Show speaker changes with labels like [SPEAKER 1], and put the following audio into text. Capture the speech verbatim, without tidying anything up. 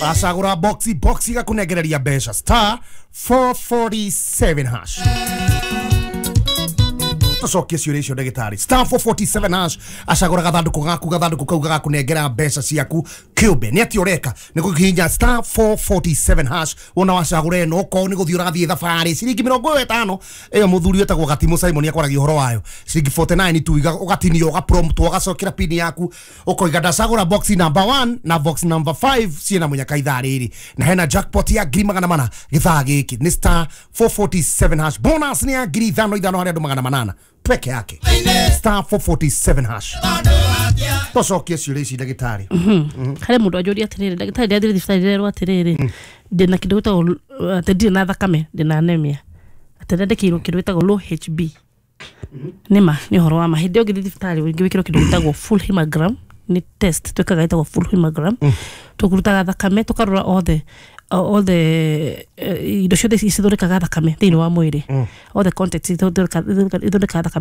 [SPEAKER 1] Wacagũra box, box igakũnengereria mbeca. Star four forty-seven hash. Tũcokie ciũria icio, ndagĩtarĩ. Star four forty-seven hash, acagũra gathandũkũ gaku, gathandũkũ kau gagakũnengera mbeca ciaku kĩũmbe. Nĩ atĩ ũreka nĩ kũhihinya star four forty-seven hash. Wona wacagũra ĩno, okorwo nĩ gũthiĩ ũrathiĩ thabarĩ, ciringi mĩrongo ĩyo ĩtano ĩyo mũthuri wĩtagwo Gatimũ Simon akwaragia ũhoro wayo, ciringi forty-nine tu iga- ũgatinio, ũgaprompt, ũgacokera pin yaku, ũkoiga ndacagũra box number one na box number five ciĩna mũnyaka ithaa rĩrĩ, na hena jackpot ya ngiri magana mana gĩthaa gĩkĩ. Nĩ star four forty-seven hash. Bonus nĩ ya ngiri ithano ithano harĩ andũ magana manana peke yake. Star four forty-seven hash. Tũcokie ciũria ici, ndagĩtarĩ.
[SPEAKER 2] Harĩ mũndũ anjũria atĩrĩrĩ, ndagĩtarĩ, ndĩrathiĩ thibitarĩ, ndĩrerwo atĩrĩrĩ, ndĩna kĩndũ gĩtagwo, atĩ ndirĩ na thakame, ndĩna anemia, atĩ ndandĩkĩirwo kĩndũ gĩtagwo low H B. Nĩma nĩ ũhoro wa ma. Hĩndĩ ĩyo ũngĩthiĩ thibitarĩ ũngĩ wĩkĩrwo kĩndũ gĩtagwo full hemogram. Nĩ test twĩkaga ĩtagwo full hemogram. Tũkũrutaga thakame, tũkarora othe all the eh, indo ciothe cithondekaga thakame thĩinĩ wa mwĩrĩ, all the contents ithondekaga ithondekaga thakame.